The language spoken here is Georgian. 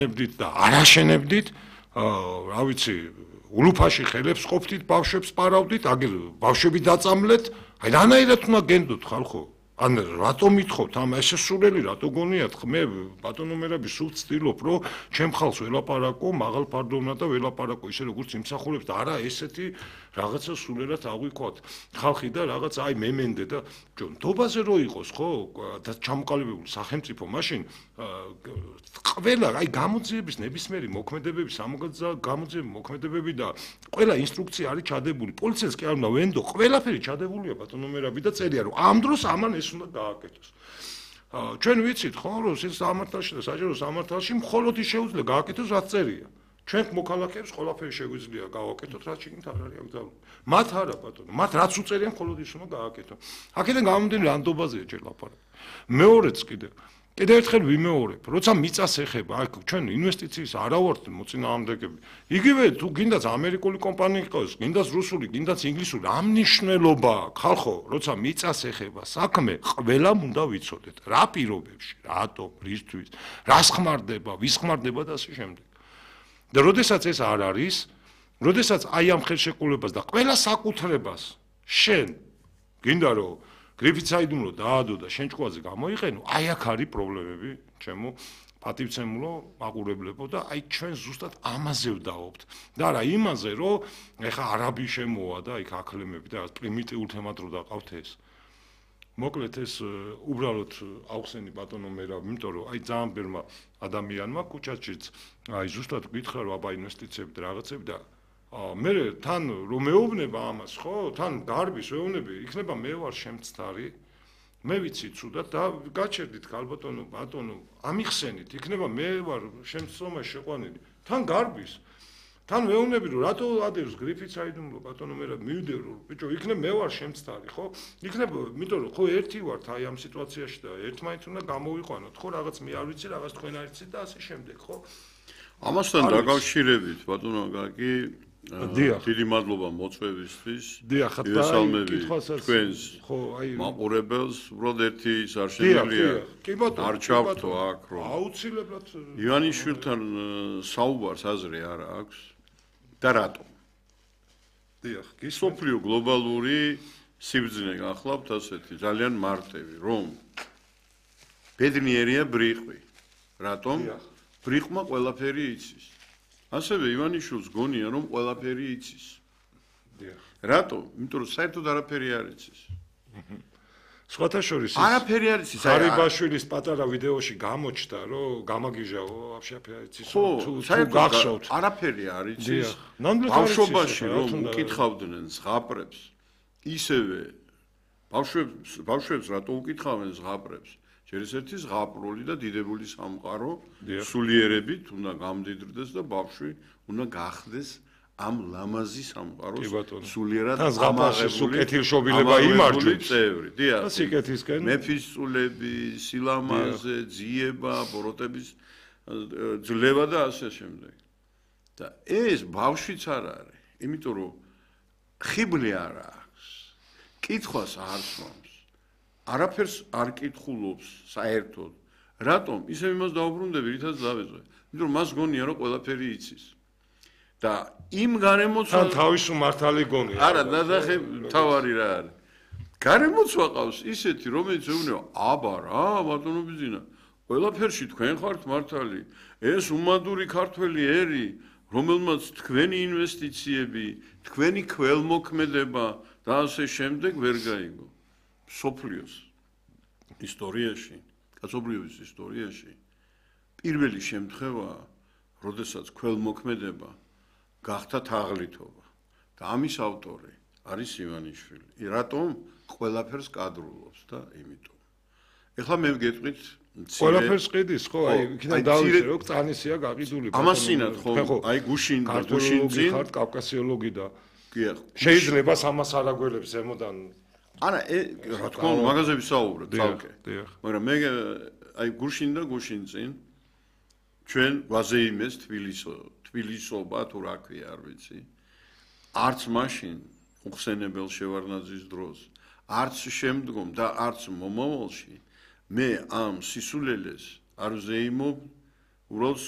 ნებდით და არაშენებდით, რა ვიცი, ულუფაში ხელებს ყოფდით, ბავშვებს პარავდით, აგერ ბავშვები დაწამლეთ, აი რანაირად უნდა გენდოთ ხალხო? ან რატომ ითხოვთ ამ ესე სულელი რატო გონიათ? მე ბატონო მერაბი სულ ვცდილობ, რომ ჩემ ხალხს ველაპარაკო, მაღალ ფარდოვნა და ველაპარაკო ისე როგორც იმსახურებს და არა ესეთი რაღაცა სულელად აღვიქვათ ხალხი და რაღაც აი მემენდე და ჯონდობაზე რო იყოს ხო და ჩამოყალიბებული სახელმწიფო მაშინ ყველა აი გამოძიების ნებისმიერი მოქმედებები გამოძიების მოქმედებები და ყველა ინსტრუქცია არის ჩადებული პოლიციას კი არ უნდა ვენდო ყველაფერი ჩადებულია ბატონო მერაბი და წერია რომ ამ დროს ამან ეს უნდა გააკეთოს ჩვენ ვიცით ხო რომ სამართალში და საჯარო სამართალში მხოლოდ ის შეუძლია გააკეთოს რაც წერია ჩვენ მოქალაქეებს ყველაფერი შეგვიძლია გავაკეთოთ რაც შეგნით არ არის აკრძალული მათ არა ბატონო მათ რაც უწერიან მხოლოდ ის უნდა გააკეთონ აქედან გამომდინარე რანდობაზეა ჯერ ლაპარაკი მეორეც კიდევ ერთხელ ვიმეორებ როცა მიწას ეხება აქ ჩვენ ინვესტიციის არა ვართ მოწინააღმდეგები იგივე თუ გინდაც ამერიკული კომპანია იყოს გინდაც რუსული გინდაც ინგლისური ამ მნიშვნელობა ხალხო როცა მიწას ეხება საქმე ყველამ უნდა ვიცოდეთ რა პირობებში რატო რისთვის რას ხმარდება ვის ხმარდება და ასე შემდეგ და როდესაც ეს არ არის როდესაც აი ამ ხელშეკრულებას და ყველა საკუთრებას შენ გინდა რომ გრიფიცაიდუმლო დაადო და შენ ჭკუაზე გამოიყენო, აი აქ არის პრობლემები, ჩემო პატივცემულო, მაყურებლებო და აი ჩვენ ზუსტად ამაზე ვდაობთ. და არა იმაზე, რომ ეხა არაბი შემოვა და იქ აკლემები და პრიმიტიულ თემად რო დაყავთ ეს. მოკლედ ეს უბრალოდ აუხსენი ბატონო მერაბ, იმიტომ რომ აი ძალიან ბევრმა ადამიანმა კუჩაჩიც აი ზუსტად გითხრა რომ აბა ინვესტიციები და რაღაცები და მე თან რომ მეუბნება ამას ხო თან გარბის ვეუბნები იქნება მე ვარ შემცდარი მე ვიცი ცუდად და გაჩერდით ქალბატონო ბატონო ამიხსენით იქნება მე ვარ შემცდომაში შეყვანილი თან გარბის თან ვეუბნები რომ რატო ადევს გრიფიცაიდუმლო ბატონო მე მივიდე რომ ბიჭო იქნება მე ვარ შემცდარი ხო იქნება იმიტომ რომ ხო ერთი ვართ აი ამ სიტუაციაში და ერთმანეთს უნდა გამოვიყვანოთ ხო რაღაც მე არ ვიცი რაღაც თქვენ არ იცით და ასე შემდეგ ხო ამასთან დაკავშირებით ბატონო გაკი დიდი მადლობა მოწვევისთვის. დიახ, თქვენს მაყურებელს უბრალოდ ერთი ის არ შემიძლია არ ჩავთო აქ რომ აუცილებლად ივანიშვილთან საუბარს აზრი არ აქვს და რატომ? დიახ, სოფლიო გლობალური სიბრძნე გახლავთ ასეთი ძალიან მარტივი რომ ბედნიერია ბრიყვი. რატომ? ბრიყვმა ყველაფერი იცის. ასევე ივანიშვილს გონია რომ ყველაფერი იცის. რატო? იმიტომ რომ საერთოდ არაფერი არ იცის. სხვათა შორის არაფერი არ იცის. გარიბაშვილის პატარა ვიდეოში გამოჩნდა რომ გამაგიჟაო აფშაფი არ იცის თუ გახსოვთ. არაფერი არ იცის. ბავშვობაში რომ უკითხავდნენ ზღაპრებს ისევე ბავშვებს რატო უკითხავენ ზღაპრებს? ერთ-ერთი ზღაპრული და დიდებული სამყარო სულიერებით უნდა გამდიდრდეს და ბავშვი უნდა გახდეს ამ ლამაზი სამყაროს სულიერად ამაღებული კეთილშობილება იმარჯვებს წევრი. დიახ. სიკეთისკენ მეფისწულები, სილამაზე, ძიება, ბოროტების ძლევა და ასე შემდეგ. და ეს ბავშვიც არ არის, იმიტომ რომ ხიბლი არ აქვს. კითხვას არ სვამს. არაფერს არ კითხულობს საერთოდ. რატომ? ისე იმას დაუბრუნდები, რითაც დავეძვე. იმიტომ რომ მას გონია რომ ყველაფერი იცის. და იმ გარემოცვა თავის მართალი გონია. არა, ნახე, თავარი რა არის. გარემოცვა ყავს ისეთი, რომელიც ეუბნება, აბა რა, ბატონო ბიზინა, ყველაფერში თქვენ ხართ მართალი. ეს უმადური ქართველი ერი, რომელმაც თქვენი ინვესტიციები, თქვენი ქველმოქმედება და ასე შემდეგ ვერ გაიგო. სოფლიოს ისტორიაში, კაცობრიობის ისტორიაში პირველი შემთხვევაა, როდესაც ქველმოქმედება გახდა თაღლითობა და ამის ავტორი არის ივანიშვილი. რატომ? ყველაფერს კადრულობს და იმიტომ. ეხლა მე ვგეტყვით ყველაფერს ყიდის ხო? აი იქიდან დავიწყე რომ წანისია გაყიდული. ამასინად ხო? აი გუშინ წინ ხართ კავკასიოლოგი და კი შეიძლება ამას არაგველებს ზემოდან არა, რა თქმა უნდა, მაგაზე ვისაუბრებ თალკე. მაგრამ მე აი გუშინ წინ ჩვენ ვაზეიმეს თბილისობა თუ რა ქვია, არ ვიცი. არც მაშინ უხსენებელ შევარნაძის დროს, არც შემდგომ და არც მომავალში მე ამ სისულელეს არ ვზეიმობ, უბრალოდ